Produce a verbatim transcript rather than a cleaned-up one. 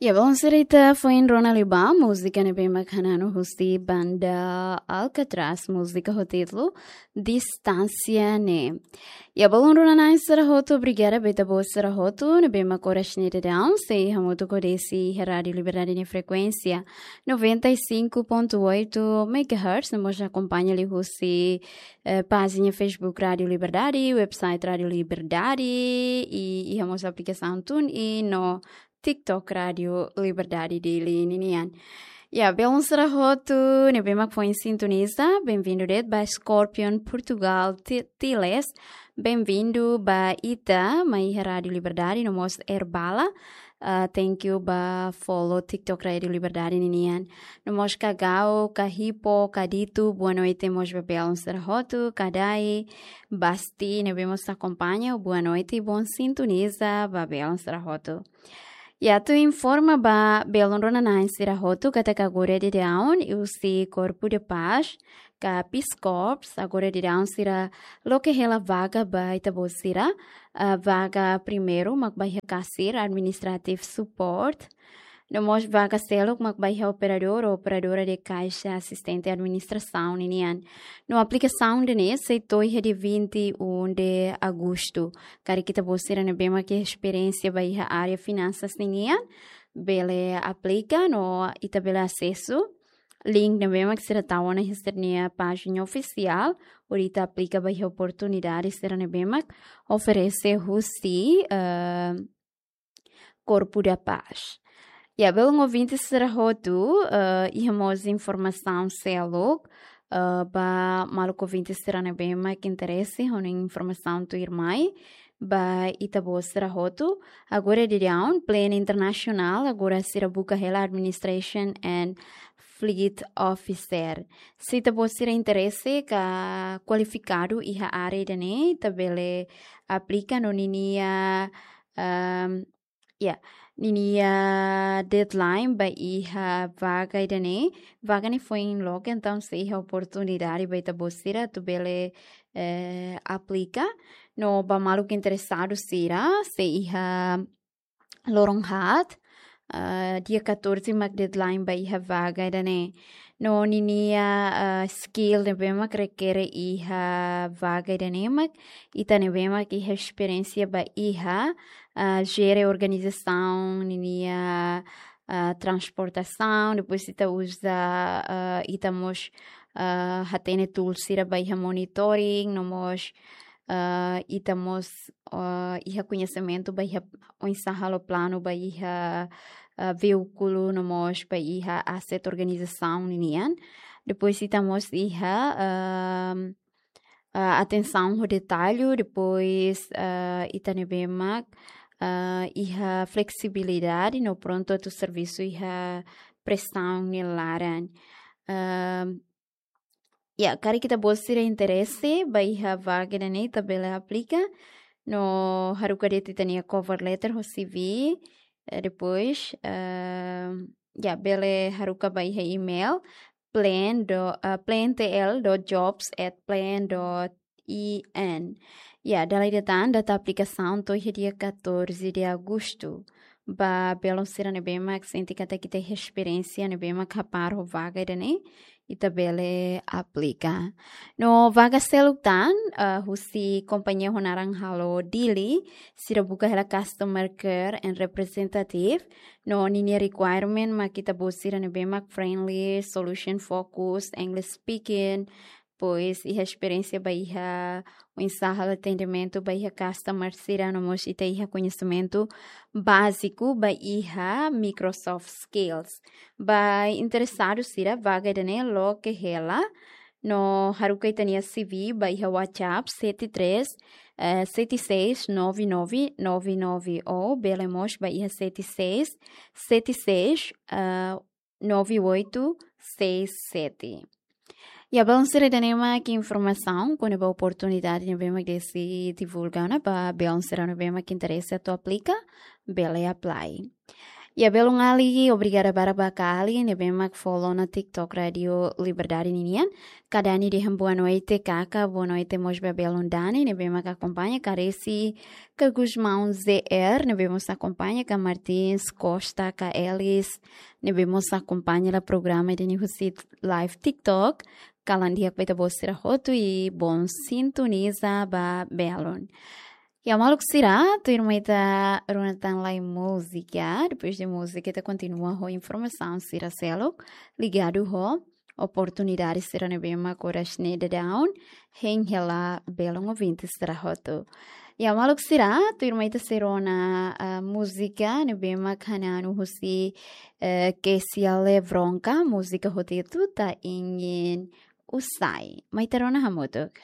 Ya, belun sira, ita foin rona liu ba múzika ne'ebé mak hananu husi banda Alcatraz, múzika ho títulu Distánsia Ne'e. Ya, belun rona-na'in sira hotu, obrigada ba ita-boot sira hotu ne'ebé mak oras ne'e daudaun sei hamutuk ho desi iha Rádio Liberdade nia frekuénsia noventa e cinco ponto oito megahertz, no mós akompaña liu husi, eh, pájina Facebook Rádio Liberdade, website Rádio Liberdade, i iha mós aplikasaun TuneIn no TikTok Rádio Liberdade Dili ninian. Ya, belun sira hotu ne'ebé mak foin sintoniza, bem-vindo de'it ba Scorpion Portugal Ti-, Tiles, bem-vindo ba ita mai iha Rádio Liberdade, no mós Erbala. Ah, thank you ba follow TikTok Rádio Liberdade ninian. No mós Kagau, Kahipo, Kadito, boa noite mós ba belun sira hotu, Kadai, Basti, ne'ebé mós akompaña, boa noite, bom sintoniza ba belun sira hotu. Ya, atu informa ba belun rona-na'in sira hotu katak agora daudaun husi Corpo de Paz, ka Peace Corps, agora daudaun sira loke hela vaga ba ita-boot sira, ah, vaga primeiru mak ba iha kasir, administrative support, no mós vaga seluk mak ba iha operadór ou operadora de caixa, asistente administrasaun ninian. No aplikasaun ida-ne'e sei to'o iha dia vinte e um de agosto. Karik ita-boot sira ne'ebé mak iha esperiénsia ba iha área finansas ninian, bele aplika no ita bele asesu link ne'ebé mak sira tau ona iha sira-nia pájina ofisiál, hodi ita aplika ba iha oportunidade sira ne'ebé mak oferese husi, eh, Corpo da Paz. Ya, belun ouvinte sira hotu, eh, iha mós informasaun seluk, eh, ba maluk ouvinte sira ne'ebé mak interese ho informasaun tuirmai ba ita-boot sira hotu. Agora daudaun, Plan International, agora sira buka hela Administration and Fleet Officer. Se ita-boot sira interese ka kualifikadu iha área ida-ne'e, ita bele aplika no ninia, ehm, ya, ninia deadline ba iha vaga ida-ne'e. Vaga ne'e foin loke, entaun sei iha oportunidade ba ita-boot sira atu bele, eh, aplika. No ba maluk interesadu sira, sei iha loron haat, ah, dia catorze mak deadline ba iha vaga ida-ne'e. No ninia, ah, skill ne'ebé mak rekere iha vaga ida-ne'e mak ita ne'ebé mak iha esperiénsia ba iha, ah, jere organizasaun ninia, ah, transportasaun, depois ita uza, ah, ita mós, ah, hatene tool sira ba iha monitoring, no mós, ah, ita mós, ah, iha koñesimentu ba iha oinsá halo planu ba iha, ah, veíkulu no mós ba iha asset organizasaun ninian. Depois ita mós iha, ah, ah, atensaun ho detallu, depois, ah, ita ne'ebé mak, ah, iha fleksibilidade no prontu atu servisu iha presaun nia laran. Ah, ya, karik ita-boot sira interese ba iha vaga ida-ne'e, ita bele aplika. No haruka de'it ita-nia cover letter ho C V. Eh, depois, eh, ya, bele haruka ba iha email plan do, eh, plantl dot jobs at plan dot in. Ya, dala ida tan, data aplikasaun to'o iha dia catorze de agosto. Ba belun sira ne'ebé mak sente katak ita iha esperiénsia ne'ebé mak kapar ho vaga ida-ne'e, ita bele aplika. No vaga seluk tan, ah, husi kompañia ho naran halo Dili, sira buka hela customer care and representative. No ninia requirement mak ita-boot sira ne'ebé mak friendly, solution focus, English speaking, depois iha esperiénsia ba iha oinsá halo atendimentu ba iha customer sira, no mós ita iha koñesimentu báziku ba iha Microsoft Skills. Ba interesadu sira, vaga ida-ne'e loke hela, no haruka ita-nia C V ba iha WhatsApp sete três, eh, sete seis nove nove nove nove, ou bele mós ba iha sete seis sete seis, eh, nove oito seis sete. Ya, belun sira, ida-ne'e mak informasaun kona-ba oportunidade ne'ebé mak Desi divulga ona ba belun sira ne'ebé mak interese atu aplika, bele apply. Ya, belun Ali, obrigada barak ba Kali ne'ebé mak follow ona TikTok Rádio Liberdade ninian. Ka Dani dehan boa noite, Kaka, boa noite mós ba belun Dani ne'ebé mak akompaña, ka Resi, ka Gusmão Z R ne'ebé mós akompaña, ka Martins Costa, ka Elis ne'ebé mós akompaña hela programa ida-ne'e husi live TikTok. Kalan di'ak ba ita-boot sira hotu i bom sintoniza ba belun. Ya, maluk sira, tuirmai ita rona tan lai múzika. Depois de múzika, ita kontinua ho informasaun sira seluk ligadu ho oportunidade sira ne'ebé mak oras ne'e daudaun hein hela belun ouvinte sira hotu. Ya, maluk sira, tuirmai ita sei rona, ah, múzika ne'ebé mak hananu husi, eh, Kesia Lebronka, múzika ho títulu Ta Ingin Usai. Mai ita rona hamutuk.